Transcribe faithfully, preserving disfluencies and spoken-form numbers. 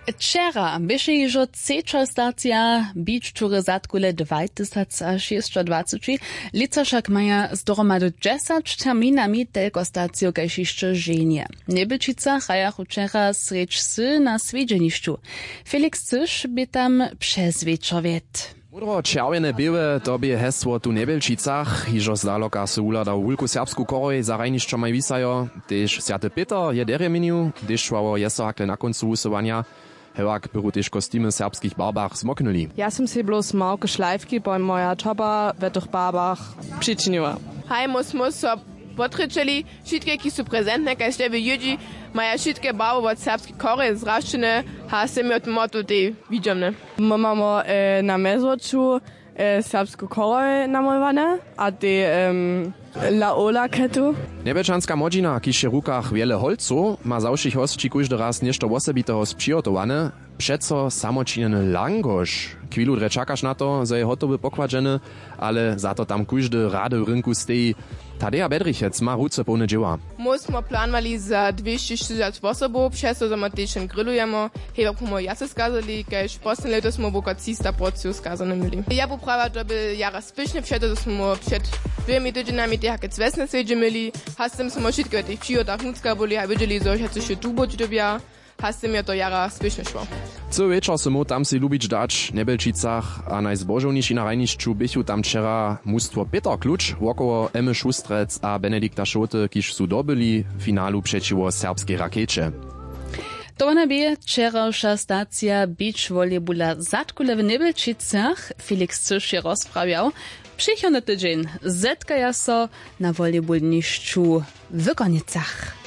Wčera běše hižo třeća stacija beach toury zadkule dwajtysacašěsćadwaceći. Lětsa wšak maja z dohromady dźesać terminami telko staciju kaž hišće ženje. W njebelčicach hrajachu wčera srjedź wsy na swjedźenišću. Felix Cyš bě tam přez wječor wjet. Módro čerwjene běłe, to bě hesło tu w njebelčicach. Hižo zdaloka sy wuhladał wulku serbsku chorhoj za hrajnišćomaj wisajo. Tež swjaty pětr je derje měnił, hdyž šła wo jeso hakle na kóncu wusyłanja. Hewak bychu tež kostimy w serbskich barbach zmoknyli. Ja sym sej blós małke šlajfki po moja čopa w tych barbach přičiniła. Haj, mój smój so potrječeli. Wšitke kiž su prezentne kaž tebje jědźi, maja wšitke barby wot serbskej chorhoj zrašćene. Haž sym jo motu tej widźomne. My mamy na mjezwoču serbsku chorhoj namolowane a tej laola ketu. Njebelčanska młodźina kiž je w rukach wjele holcow ma za wšěch hosći kóždy raz něšto wosebiteho spřihotowane. Přeco samočinjeny langoš chwilu drje čakaš na to zo je hotowy pokładźeny, ale za to tam kóždy rady w rynku steji. Tadeja bedrichec ma ruce połne dźěła. Mój smo planowali za dwěsćišćezdźesać wosobow přez to zo my tež jen grillujemy. Hewak pomoj wjace skazali kaž poslednje lěto smo woko třista porcijow skazane měli. Ja bu prawa to by jara spěšne před to zo smo před dwěmi tydźenjami tej hakec wjesne swjedźe měli. Haž z tym smo wšitke w tych přihotach nutřka byli a wědźeli zo wšetcy wšě tu być dyrbja. Haž z tym je to jara spěšne šło. Cyły wječor sy móhł tam sej lubić dać w njebelčicach a najzbožowniši na hrajnišću běchu tam wčera mustwo pětr kluč wokoło emmy šustrec a benedikta šołty kiž su dobyli w finalu přećiwo serbskej rakejće. To wona bě wčerawša stacija beach volleyballa zadkule w njebelčicach. Felix cyš je rozprawjał. Přichodny tydźeń zetkaja so na volleyballnišću w kónjecach.